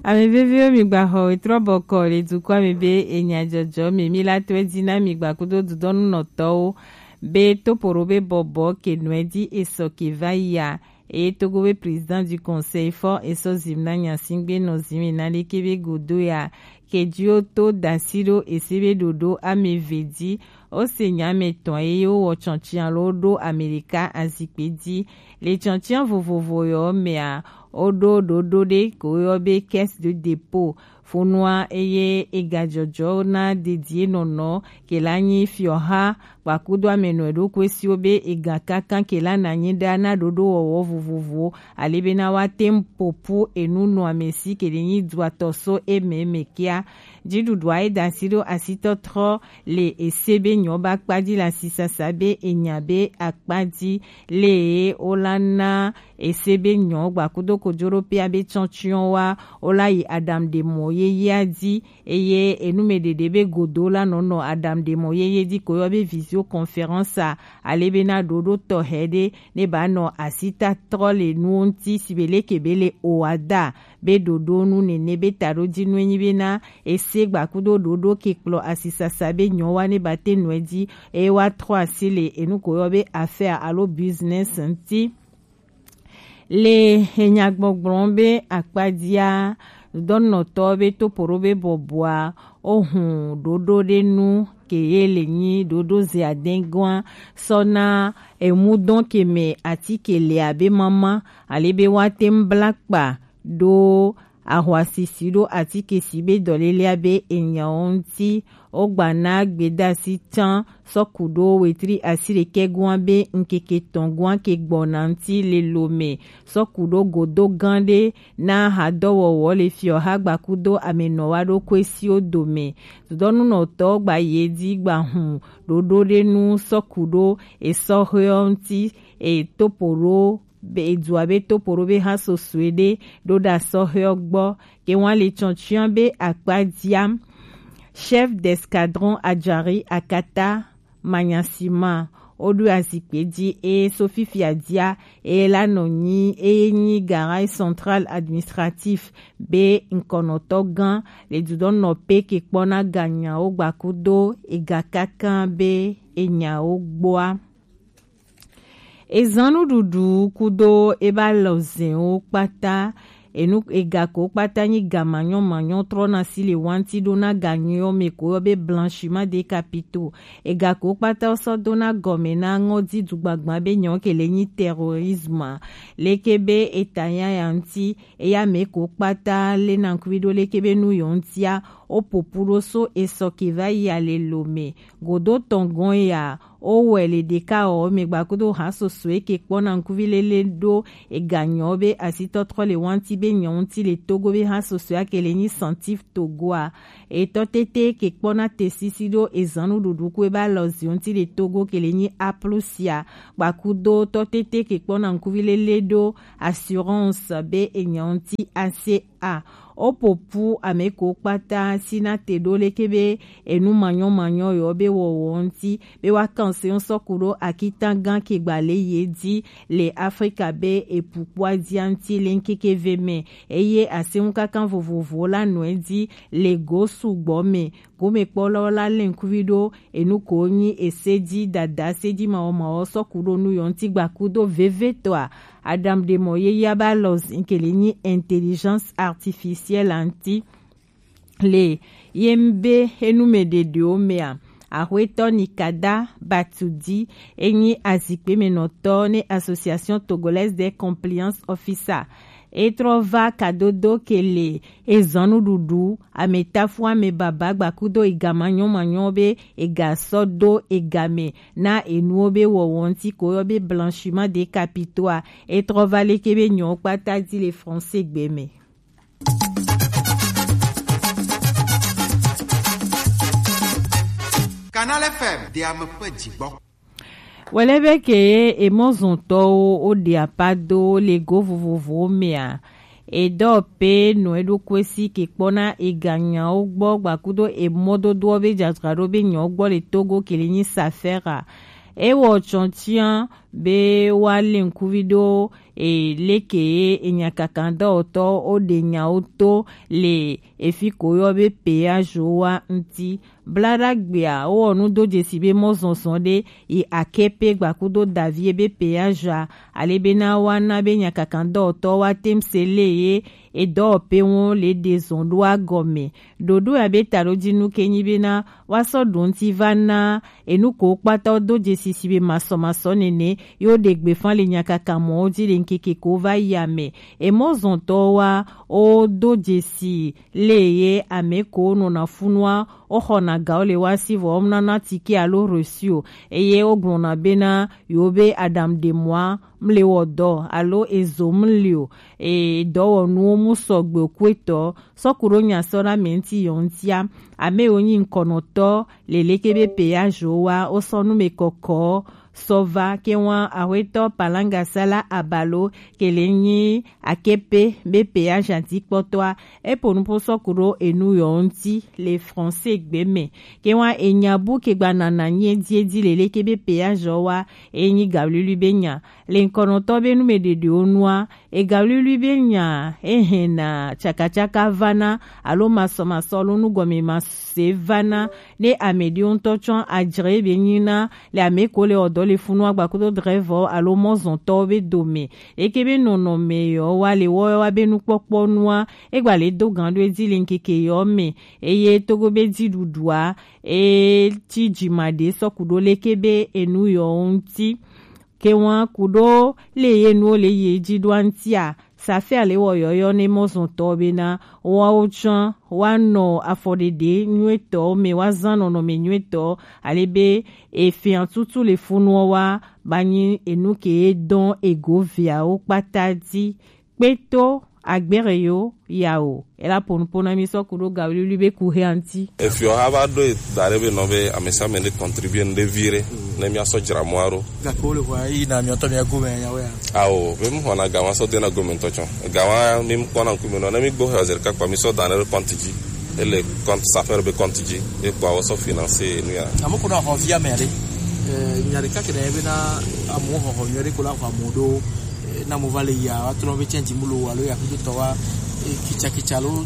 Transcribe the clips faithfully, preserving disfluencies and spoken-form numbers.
Ame veviwo, mi gba xɔ wetrɔ bɔkɔ le dukɔ ame be enya jɔjɔ me mi la tɔe dzi na mi gba kudo dudɔnu nɔtɔwo be topoɖo be bɔbɔ ke nɔe dzi esɔ ke va yi a. Eye Togo be président du conseil fɔ esɔ zim na nyasingbe nɔ zime na leke be godo ya ke dzi wo to dasi ɖo ese be ɖoɖo ame eve dzi. Wo se nya ame tɔn eye wo wɔ tsɔntsi alo ɖo ame ɖeka azikpe dzi. Le tsɔntsi vovovo yɔ mea, wo ɖo ɖoɖo ɖe ko yɔ be caisse de dépôt fonua eye ega jɔjɔ na dedie nɔnɔ ke la nyi fiɔha gbakudo ame nɔ eɖokui siwo be ega kankan ke la na nyi ɖa na ɖoɖo wɔwɔ vovovowo ale be na wa te ŋu popu enu nɔ ame si ke ɖe nyi duatɔ so eme me kia. Dziɖuɖua ye da asi ɖo asitɔtrɔ le ese be nyɔ ba kpa dzi le asisasa be enya be akpa dzi le wo la na ese be nyɔ gbakudo kojoɖo pea be tsɔtsiɔ wa wo la yi aɖaŋuɖemɔ yeyea dzi eye enumeɖeɖe be godo la nɔ nɔ aɖaŋuɖemɔ yeye dzi ko yɔ be visioconférence a ale be na ɖoɖo tɔxɛ ɖe ne ba nɔ asita trɔ le nuwo ŋuti si be leke be le oada be ɖoɖo nu nene be taɖodzi nu enyi be na ese gbakudo ɖoɖo ke kplɔ asisasa be nyɔ wa ne ba te nɔe dzi eye wa trɔ asi le enu ko yɔ be affaire alo business ŋuti. Le enyagbɔgblɔ be akpadzia, dɔnɔtɔ be topoɖo be bɔbɔa, ohun ɖoɖo ɖe nu ke ye le nyi ɖoɖo ze adɛgɔa sɔ na emudɔn ke me atike le abe mama ale be wa te ŋu bla kpa ɖo ahwasisi ɖo atike si be dɔlelea be enyawo ŋuti. Wogba na gbedasi can sɔ ku ɖo wetri asiɖekɛ goa be ŋkeke tɔn goa ke gbɔna ŋuti le lo me sɔ ku ɖo godo gã ɖe na hadɔwɔwɔ le fiɔha gbakudo amenɔwa ɖo koesiwo dome. Dudɔnunɔtɔ gba ye dzi gba hun ɖoɖo ɖe nu sɔ ku ɖo esɔxeɔ ŋuti etopoɖo be edua be topoɖo be ha sosoe ɖe ɖo ɖa sɔxeɔ gbɔ ke wan le tsɔtsiɔ be akpa diam. Chef d'escadron Adjari Akata Manyasima woɖo azikpe dzi eye so fifia dia eye la nɔ nyi eye nyi garage central administratif be ŋkɔnɔtɔ gã le dudɔnɔ pe ke kpɔna ganyawo gbakudo ega kaka be enyawo gbɔa. Ezan nuɖuɖu kudo eba lɔzɛnwo kpata enu ega ko kpata nyi ga manyɔ manyɔ trɔna si le wanti ɖo na ga nyuiɔ me ko yɔ be blanchiment de capitaux. Ega ko kpata sɔ dona gɔme na ŋɔdi dugbagba be nyɔ ke le nyi terrorisme. Leke be eta nya ya ŋuti eya me ko kpata le na ŋkuvi ɖo leke be nu yɔ ŋutia wo popu ɖo so esɔ ke va yi ale lo me godo tɔn gɔn ya. Wo wɛ le ɖeka ɔ me gbakudo ha soso eke kpɔna ŋkuvi lele ɖo ega nyɔ be asitɔtrɔ le wanti be nyɔ ŋuti le Togo be ha soso ake le nyi santif Togoa. Etɔ tete ke kpɔna te sisi ɖo ezan nuɖuɖu ko eba lɔ zi ŋuti le Togo ke le nyi aplusia gbakudo tɔ tete ke kpɔna ŋkuvi lele ɖo assurance be enyɔ ŋuti ase a. Wo popu ame ko kpata sina te ɖo leke be enu manyɔ manyɔ yɔ be wɔwɔ ŋuti be wa kan se ŋu sɔku ɖo akitan gan ke gba le ye dzi le Afrika be epu kpɔa dzi ŋuti le ŋkeke ve me eye ase ŋu kaka vovovo la nɔe dzi le go sugbɔ me. Gomekpɔlawo la lé ŋkuvi ɖo enu ko nyi ese dzi dada se dzi mawɔmawɔ sɔku ɖo nu yɔ ŋuti gbakudo vevetɔa. Adam ɖe mɔ ye ya ba lɔ zinkeli nyi intelligence artificielle ŋuti. Le ye be enu me ɖeɖewo mea, axwetɔ Nikada Batudi enyi azikpemenɔtɔ ne Association Togolaise des Compliance Officer. Etrɔ va kadodo ke le ezɔnuɖuɖu ametafu ame baba gbakudo ega manyɔmanyɔ be ega sɔ do ega me na enuwo be wɔwɔ ŋuti ko yɔ be blanchiment de capitaux a. Etrɔ va leke be nyɔwo kpata di le français gbe me. Canal F M de ame ƒe dzigbɔ. Wòle be ke ye emɔzɔntɔwo woɖe apa do le go vovovowo mea, edɔ pe nɔ eɖokui si ke kpɔna eganyawo gbɔ gbakudo emɔdodoɔ be dzadzraɖo be nyawo gbɔ le Togo ke le nyi Safera. Ewɔ tsɔtia be wa le ŋkuvi ɖo e leke ye enyakakandɔwɔtɔ wo ɖe nyawo to le efi ko yɔ be péage wa ŋti. Blaɖagbea wowɔ nu do jesi be mɔzɔnzɔn ɖe yi akepe gbakudo davie be péage a ale be na wa na be nyakakandɔwɔtɔ wa tem se le ye edɔwɔpe ŋu le ɖe zɔn ɖo agɔme. Ɖoɖo ya be taɖojinu ke nyi be na wa sɔ ɖo ŋti va na enu ko kpata do jesi si be masɔmasɔ nene yo ɖe gbe fan le nyakaka mɔ wo ji le ŋkeke ko va yi ame. Emɔzɔntɔ wa o do jesi le ye ame ko nɔna funua o xɔna ga wo le wa si vɔ o mnana tike alo reçu o. Eye o gblɔna be na yo be adam de moi mle wɔ dɔ alo ezo mli o. E dɔwɔnuwo mu sɔgbe o kuetɔ sɔku ɖo nya sɔ na mɛ ŋti yɔ ŋtia. Ame wo nyi ŋkɔnɔtɔ le leke be péage wa o sɔ nu me kɔkɔ sɔ va ke wa ahwetɔ Palangasala Abalo ke le nyi akepe be péage atikpɔtɔa. Epo nupo sɔku ɖo enu yɔ ŋti le français gbe me ke wa enya bu ke gba nana nyi edi edi le leke be péage wa e nyi gawlili be nya le ŋkɔnɔtɔ be nu me ɖeɖe wo nua. Ega wliwli be nya ehɛna tsakatsaka vana alo masɔmasɔ alo nugɔme mase vana ne ame ɖewo ŋutɔ tsɔ adzre be nyina le ame ko le ɔdɔ le funu agba kudo drɛvɔ alo mɔzɔntɔ be dome. Eke be nɔnɔme yɔ wa le wɔ wa be nukpɔkpɔ nua egba le do gan ɖo edzi le ŋkeke yɔ me. Eye togo be dziɖuɖua e tsi dzima ɖe sɔku ɖo leke be enu yɔ ŋuti. Ke wa ku ɖo le ye nuwo le ye dzi ɖo aŋtia, safia le wɔ yɔyɔ ne mɔzɔntɔ be na woawo tsã woanɔ afɔɖeɖe nyuitɔ me, woazã nɔnɔme nyuitɔ, ale be efia tutu le funuɔ wa ba nyi enu ke dɔn ego viawo kpata dzi. Kpeto agbere yo yawo ela ponupona mi sɔ ku ɖo gawlili be ku he aŋti. Efiɔ ha va ɖo da ɖe be nɔ be amesiame ɖe contribuer nu ɖe vi ɖe ne mia sɔ dzra mɔa ɖo. Gake wo le xɔa yi na miɔtɔ mia gome nyawo ya. Awo be mu xɔna gawa sɔ dena gome ŋutɔ tsɔ gawa mi kpɔna ŋkume nɔ ne mi gbɔ xɔ zerika kpa mi sɔ da ɖe compte dzi. Ele compte safere be compte dzi ekpɔ awɔ sɔ financer nu ya. Amo ko na xɔ via me aɖe. Nya ɖeka ke ɖe be na amewo xɔxɔ nyuie ɖe ko la xɔ amewo ɖo. Na mo va le ya wa trɔ be tiɛn dzimu lo alo ya kudo tɔ wa kitsakitsa lo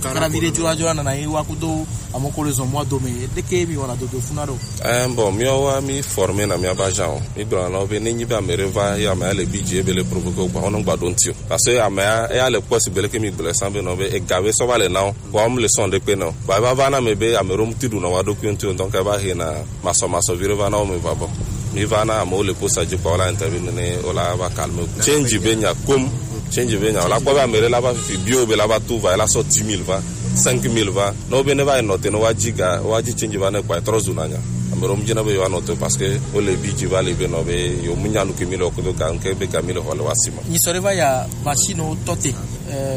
karavi ɖe dzora dzora nana ye wa kudo amo ko le zɔn mɔa dome ɖeke mi wɔna dodo funa ɖo. Ɛn, bon, miawo wa mi former na mia ba jan o. Mi gblɔ na wo be ne nyi be ame ɖe va ye ame ya le bi dzi ebe le provoquer o gba wonɔ gba ɖo ŋti o. Parce que ame ya eya le kpɔ si be leke mi gblɔ san be nɔ be ega be sɔ va le na wo. Wa mu le sɔn ɖe kpe na o. Wa va va na me be ame ɖo mu ti ɖu na wa ɖo kpe ŋti o, donc eva he na masɔmasɔ vi ɖe va na wo me va bɔ. Mi va na amewo le posa dzi kpa wola interview ne wola va calme. Change be nya kom. Change be nya wola kpɔ be ame ɖe la va fifi bio be la va tu va la sɔ dix mille va, cinq mille va. Ne wo be ne va yi nɔte ne wa dzi ga wa dzi change va ne kpa trɔ zu na nya. Ame ɖewo mu dzi na be yewo anɔte parce que wo le bi dzi va le be nɔ be yewo mu nya nu ke mi le wo kodo ga ŋke be ga mi le xɔ le wa si ma. Nyi sɔ ɖe va ya machine wo tɔ te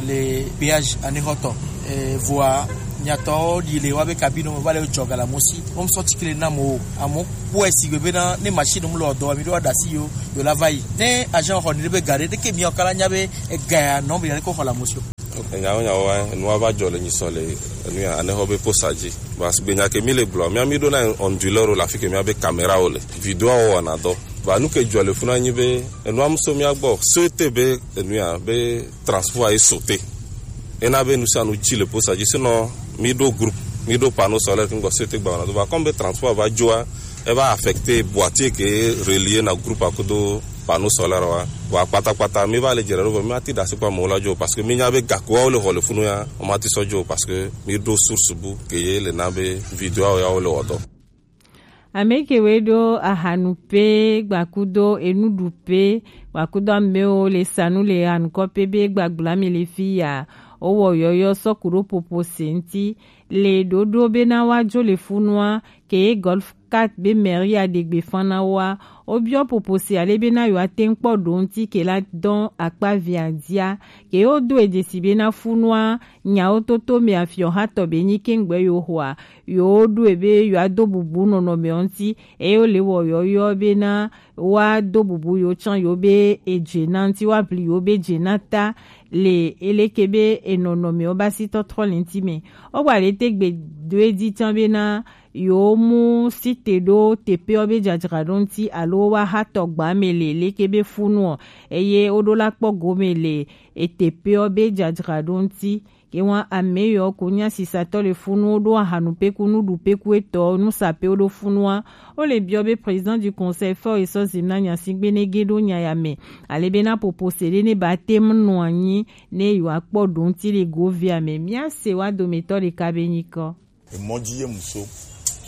le péage anexɔtɔ. Vɔa nyatɔwo ɖi le wa be kabine me va le dzɔ gala mo si. Wo sɔ tikile na mo amo kpɔe si gbe be na ne machine mu le ɔdɔ mi ɖo aɖasi yo yo la va yi ne agent xɔ ni ɖe be ga ɖe ɖeke mi ɔkala nya be ega ya nɔ be ya ko xɔ la mo si. Nyawo nyawo wa nua va dzɔ le nyisɔ le enu ya anexɔ be posa dzi. Parce que gbenya ke mi le gblɔ mia mi ɖo na onduleur le afi ke mia be caméra wo le video wo wɔna dɔ. Ba nu ke dzɔ le funa nyi be enua mu so mia gbɔ sete be enu ya be transport ye sauter. Ena be nu sia nu dzi le posa dzi, sinon mi ɖo groupe, mi ɖo panneau solaire ke ŋgɔ sete gba wɔna dɔ. Ba comme be transport va dzoa, e va affecter boîtier ke relier na groupe akudo panneau solaire wa. Wa kpatakpata mi va le dzre ɖo vɔ mi ati ɖasi kpa mo la dzo parce que mi nya be gakuawo le xɔ le funu ya, o ma ti sɔ dzo parce que mi ɖo source bu ke ye le na be video ya wo le wɔ dɔ. Ame kewo ɖo ahanu pe gbakudo enuɖu pe gbakudo amewo le sanu le hanukɔ pe be gbagbla mi le fi ya. Wowɔ yɔyɔ sɔ ku ɖo popo se ŋti le ɖoɖo be na wa dzo le funua ke ye Golf quatre be mairie a ɖe gbe fan na woa. Wobiɔ popo se ale be na yewoa te ŋu kpɔ ɖo ŋti ke la dɔn akpa via dia ke yewo do edzesi be na funua nyawo toto me afiɔ hatɔ be nyi ke ŋgbe yewo xɔa. Yewo ɖoe be yewoa do bubu nɔnɔme ŋti eye wo le wɔ yɔyɔ be na wa do bubu yewo tsã yewo be edze na ŋti wa bli yewo be dze na ta le eleke be enɔnɔme wo ba si tɔtrɔ le ŋti me. Wo gba le te gbe do edzi tsã be na yewo mu site ɖo teƒewo be dzadzraɖo ŋti alo ɖo wa ha tɔgba me le leke be funu ɔ, eye wo ɖo la kpɔ gome le eteƒe ɔ be dzadzraɖo ŋuti. Ke wa ame yɔ ko nya sisatɔ le funu wo ɖo ahanu peku nuɖu peku etɔ nusape wo ɖo funua. Wo le biɔ be président du conseil fɔ esɔ zim na nya si gbe ne ge ɖo nya ya me. Ale be na popo se ɖe ne ba te mu nɔ anyi ne yewoakpɔ ɖo ŋuti le govia me. Míase wa dometɔ ɖeka be nyikɔ. Emɔ dzi ye mu so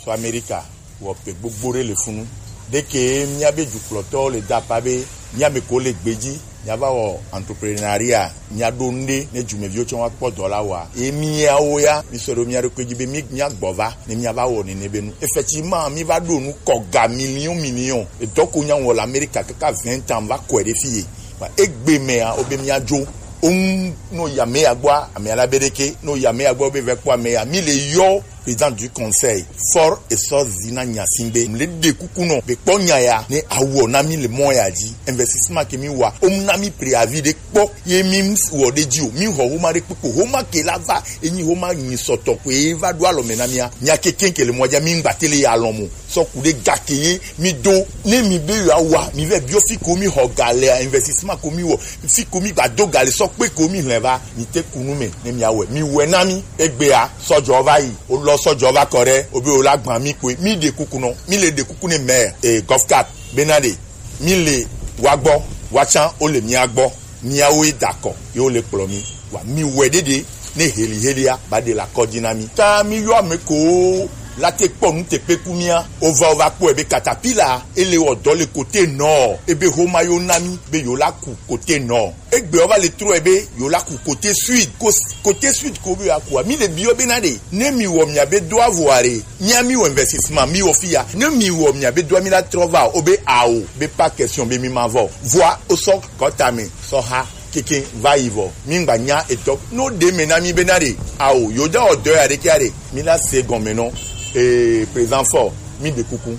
so Amerika wɔ pe gbogbo ɖe le funu. Ɖeke míabe dukplɔtɔwo le da akpa be míame ko le gbe dzi míava wɔ entrepreneuria, míaɖo nu ɖe ne dumeviwo tsɔ wa kpɔ dɔ la wɔa. Ye míawo ya mísɔ ɖo mía ɖokui dzi be mí míagbɔ va ne míava wɔ nene be nu. Effectivement, míva ɖo nu kɔ ga million million. Edɔ ko nya wɔ le Amerika kaka vingt ans va kɔe ɖe fi ye. Ba egbe mea, wobe míadzo. Oŋu no yi ame ya gbɔa, ame ya la be ɖeke, no yi ame ya gbɔ be vɛ kpɔ ame ya. Mi le yɔ président du conseil fort et sort zina nya si be, mi le ɖe kuku nɔ be kpɔ nya ya ne awɔ na mi le mɔ ya dzi. Investissement ke mi wa, omu na mi préavis ɖe kpɔ ye mi wɔ ɖe dzi o. Mi xɔ homa ɖe kpekpe, homa ke la va, enyi homa nyi sɔtɔ ko ye va ɖo alɔ me na mia. Mia kekeŋ ke le mɔ dzi, mi ŋgba te le ya lɔ mo. Sɔ ku ɖe ga ke ye mi do. Ne mi be yewoawa, mi vɛ biɔ fi ko mi xɔ ga lea, investissement ko mi wɔ, fi ko mi gba do ga le sɔ kpe ko mi hlɛ va, mi te ku nu me ne mi awɛ. Mi wɛ na mi. Egbea, sɔjɔ va yi, o lɔ sɔjɔ va kɔ ɖe, o be o la gban mi koe. Mi ɖe kuku nɔ, mi le ɖe kuku ne maire, e, Govcap, bena ɖe, mi le wa gbɔ, wa tsan, o le mia gbɔ. Miawoe da kɔ ye wo le kplɔ mi. Wa mi wɛ ɖeɖe ne heli helia ba ɖe la kɔdzi na mi. Ta mi yɔ ame ko la te kpɔ nu te kpe ku mia. O va, o va kpɔe be katapila e le wɔ dɔ le kote nɔ. Ebe homa yo na mi be yo la ku kote nɔ. Egbe o va le trɔe be yo la ku kote sud. Ko, kote sud ko be ya kua. Mi le biɔ be na ɖe ne mi wɔ mia be do avɔ are. Mia mi wɔ investissement, mi wɔ fi ya. Ne mi wɔ mia be doa mi la trɔ va o, o be ao, be pas question be mi ma vɔ. Voa o sɔ kɔta me, sɔ ha, keke va yi vɔ. Mi ŋgba nya etɔ. No de me na mi be na ɖe ao, yo da o dɔ ya ɖe kia ɖe. Mi la se gɔme nɔ. Eh, présent fort, mi de kuku.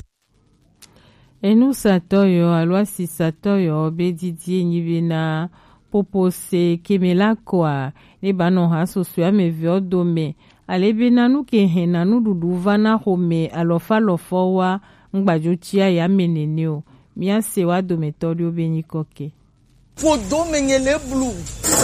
Enusatɔ yɔ alo asisatɔ yɔ be didi enyi be na popo se keme la kɔa, ne ba nɔ ha sosoe ame veɔ dome, ale be na nu ke hɛn na nuɖuɖu va na xome alɔfa lɔfɔ wa, ŋgbadzo tsia ya me nene o. Mia se wa dometɔ ɖewo be nyikɔ ke. Ƒodo me nye le blu,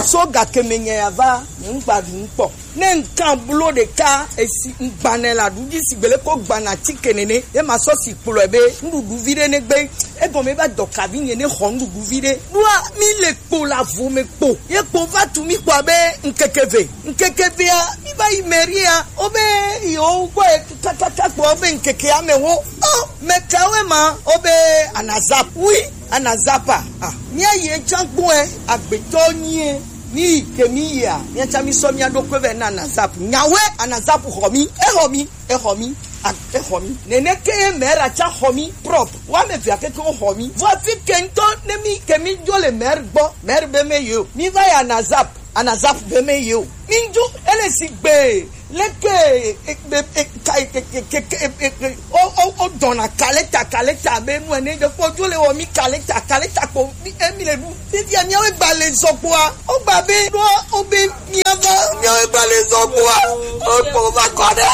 so gake me nye ya va, nye ŋgba ɖu ŋkpɔ. Ne ŋkan blo ɖeka esi ŋgbanɛ la ɖu dzi sigbe le ko gbana tike nene, ye ma sɔ si kplɔe be nuɖuɖu vi ɖe ne gbe. Egɔme va dɔ kavi nye ne xɔ nuɖuɖu vi ɖe. Ɖoa mi le kpo la vo me kpo. Ye kpo va tu mi kpɔ be ŋkeke ve. Ŋkeke vea, mi va yi mairie a, wo be yewo gbɔ ye kakaka kpɔ be ŋkeke ame wo. O, me kawe ma, wo be anazap. Oui, anazapa. Ah, mia ye tsan kpɔe, agbetɔ nyie. Mi ke mi yia, mia tsa mi sɔ mia ɖokui vɛ na anazap. Nyawe anazap xɔ mi, e xɔ mi, e xɔ mi, a, e xɔ mi. Nene ke ye mɛra tsa xɔ mi, prop. Wa me via keke wo xɔ mi. Vɔ fi ke ŋutɔ ne mi ke mi dzo le mɛr gbɔ, mɛr be me yo. Mi va ya anazap. Anazap be me ye o. Mi ŋdzo ele si gbe leke e, e, e, ka, e, e, ke, ke, e, e, e, o, o, o dɔna kaleta, kaleta be nu ene de kpɔ dzo le wɔ mi kaleta, kaleta kpo mi, e, mi le ɖu. Fifia miawo gba le zɔ kpoa, o gba be ɖo o be miava miawo gba le zɔ kpoa, o kpo va kɔ ɖe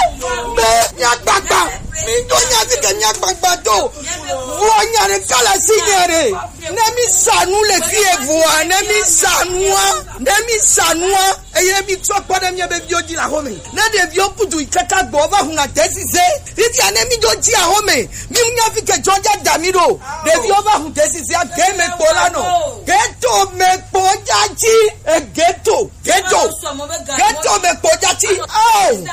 be miagbagba. Mi do nya fi ke miagbagba do. Vɔ nya ɖe kala si nya ɖe. Ne mi sa nu le fi evoa, ne mi sa nua, ne mi sa nua, eye mi trɔ kpɔ ɖe mia be viwo dzi le axome. Ne ɖeviwo kudu yi kaka gbɔ va huna tesize, fifia ne mi do dzi axome, mi nya fi ke jɔja da mi ɖo. Ɖeviwo va hu tesize ge me kpo la nɔ. Geto me kpo ja dzi, e geto, geto, geto me kpo ja dzi. Oh,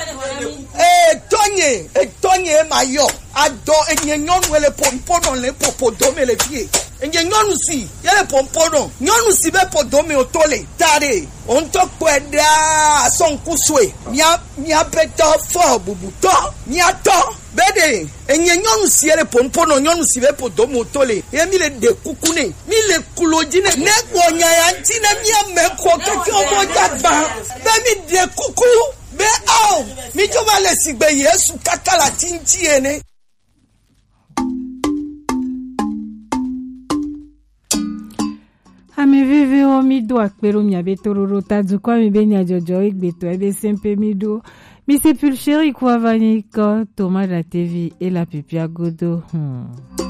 e tɔnye, e tɔnye ma yɔ. Adɔ enye nyɔnu ele pompo nɔ le popo dome le fie. Enye nyɔnu si, ye le pompo nɔ. Nyɔnu si be po dome o to le. Ta ɖe, o ŋutɔ kpɔe ɖaa, asɔ ŋku sue. Mia, mia be tɔ fɔ bubutɔ, mia tɔ. Be ɖe, enye nyɔnu si ye le pompo nɔ, nyɔnu si be po dome o to le. Ye mi le ɖe kuku ne, mi le kulo dzi ne. Ne wɔ nya ya ŋuti ne mia me ko keke o mo dza gba. Be mi ɖe kuku. Be ao, mi dzo va le sigbe Yesu kaka le ati ŋuti ene. Ame vevewo, mi do akpe ɖo miabe toɖoɖo ta dukɔa mi be nyadzɔdzɔ egbetɔ ebe sɛmpe mi ɖo. Mi se pulchéri kua va nyi kɔ Thomas Datevi e la pipia godo. Hmm.